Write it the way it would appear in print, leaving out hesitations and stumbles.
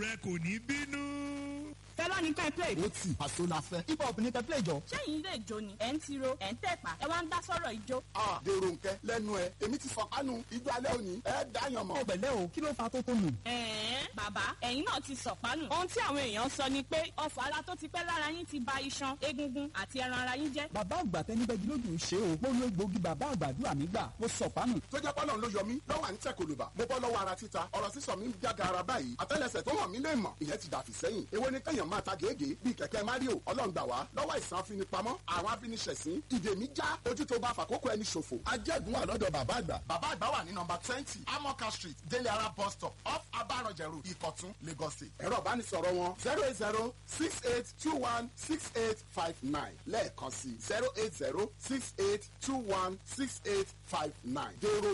Rẹ kò ní bínú. Fẹlá ní kẹ́ play. Ó tì àṣọ la fẹ́. Hip hop ní kẹ́ play jọ. Ṣẹ́yìn ilé ìjó ni ẹ̀ ń tiro, ẹ̀ ń tẹ̀pá, ẹ wá ń dá sọ̀rọ̀ ìjó. A dèrò nkẹ lẹ́nu ẹ, èmi ti sọ̀pánu ijó alẹ́ òní, ẹ dáyàn mọ̀. Ọ̀pẹ̀lẹ́ o, kí ló fa tó tó nù? Ẹ̀ẹ́n, bàbá, ẹ̀yin náà ti sọ̀pánù. Ohun tí àwọn èèyàn sọ ni pé ọfọ̀ ara tó ti pẹ́ lára yín ti ba iṣan, egungun àti ẹran ara yín jẹ́. Bàbá àgbà tẹnibẹ́gi lójú ń ṣe o. Mo lo egbòogi bàbá àgbàdua mi gbà. Mo sọ̀pánù. Tó jẹ́ pọ́lọ́n ló yọ mí lọ́wọ́ à ń tẹ̀ kòlùbà. Mo bọ́ lọ́wọ́ ara títa, ọ̀rọ̀ sísọ mi ń jága ara báyìí. Àtẹ́lẹsẹ̀ tó hàn mí lè mọ̀, ìyẹn ti dàfí sẹ́yìn. Èwo ni kẹ́yàn máa ta gègé bíi kẹ̀kẹ́ Mario? Ọlọ́run gbà wá lọ́wọ́ àìsàn afinipamọ́, àwọn afiniṣẹ̀sín, ìdè mi já, ojú tó bá fàkókò ẹni ṣòfò. Ajẹ́gun wà lọ́dọ̀ bàbá àgbà. Bàbá àgbà wà ní nọmba 20, Amoka Street, Délé Ara bus stop, off Abarọ̀jẹ̀ Road, Ìkọ̀tún, Lagos State. Ẹ̀rọ ìbánisọ̀rọ̀ wọn 08068216859, lẹ́ẹ̀kan sí 08068216859. Dèrò.